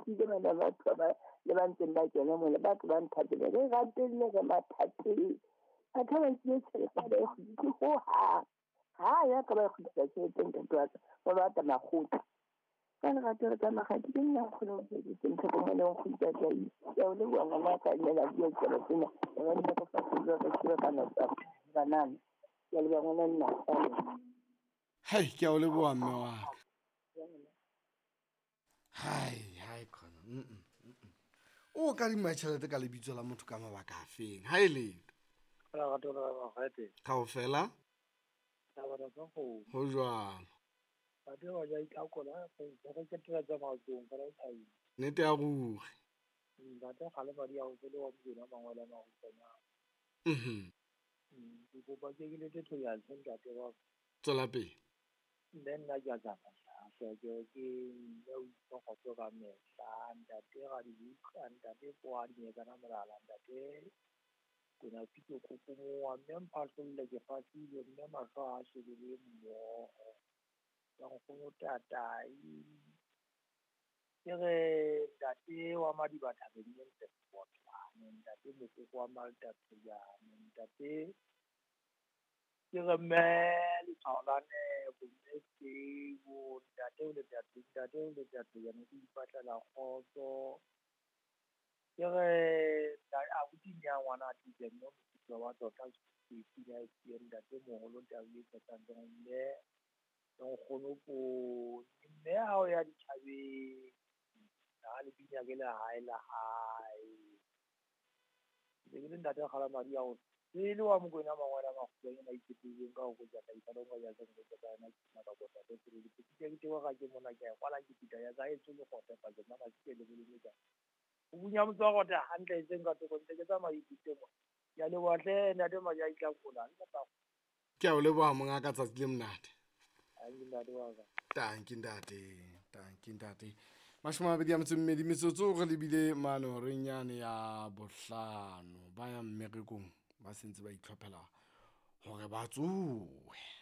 Nkile bana batho ba le ba ntseng ba kena mona ba tlo ba nthapele. Re rapelle re mathateng. Batho ba nkile tjhelete ha ba e kgutlise hohang. Ha ya ka ba e kgutlisa tjhelete ntate wa ka. Ba batla makgotla. Ka lerato re ka makgati ke nna nkgono tlhokomelo nkgono Tatai. Ke a o leboha ngwana ka nne la bua ditaba tsena. Re nne re fatshe re tsebe ka nako banana. Ke a leboha ngwana nna. Hai, ke a o leboha mme wa ka. Hai, hai khona. O kadima tjhelete ka lebitso la motho ka mabaka a feng? Ha e letho. Lerato la makgate. Kaofela Taba tsa kgomo. ho jwalo. Batho ba ja itlhakola re ketela tsa maotong fela o thabile. Nnete ya ruri. Ntate kgale madi a ho le wa Mokwena mangwele a mahutshwanyane. Ke kopa ke ke lete thoya ntate wa ka. Tswela pele. Mme nna ke a tsamaya hleke ke mme o itse kgotso ka mehla. Ntate Radibuka, ntate Poadinyekana Molala, ntate Kwena Pitso Kokomoa, mme Mphahlolle ke fahlile, mme mahlo a shebile mmoho. Ya nkgono Tatai. Ke re ntate wa Madiba thabeng e ntle Botlane, ntate Mokoko wa Malta Thejane, ntate ke re mme letshwao la nepo, mme Sebo, ntate o le ntate o le Thejane ke ipatlela kgotso. Ke re abuti nya ngwana a tlile mme moputso wa tota ke pina e ke ntate moholo tau e tsetsang mme nkgono poone mme ha o ya dithabeng ha le bina ke lehae la hae. Ke le ntate kgala madi a ho pele wa Mokwena mangwele a makgutshwanyane a itshetlehileng ka ho ja ka ipha ya se ka yona ke ka bota ke ke ke ke ga ke mona ke kwala ke pita ya ka e tswe le gote pa ke mana ke le le ka o bunya motho wa gote hantle e seng ka thoko ntse ke tsamaya ipite mo ya leboha hle ntate Maja itlakola le ka Ke a o leboha monga ka tsatsi le monate. Tanki ntate wa ka. Tanki ntate, tanki ntate. 22 metsotso re lebile mane horeng yane ya bohlano. Ba yang mmerekong ba sentse ba itlhophela hore ba tsohe.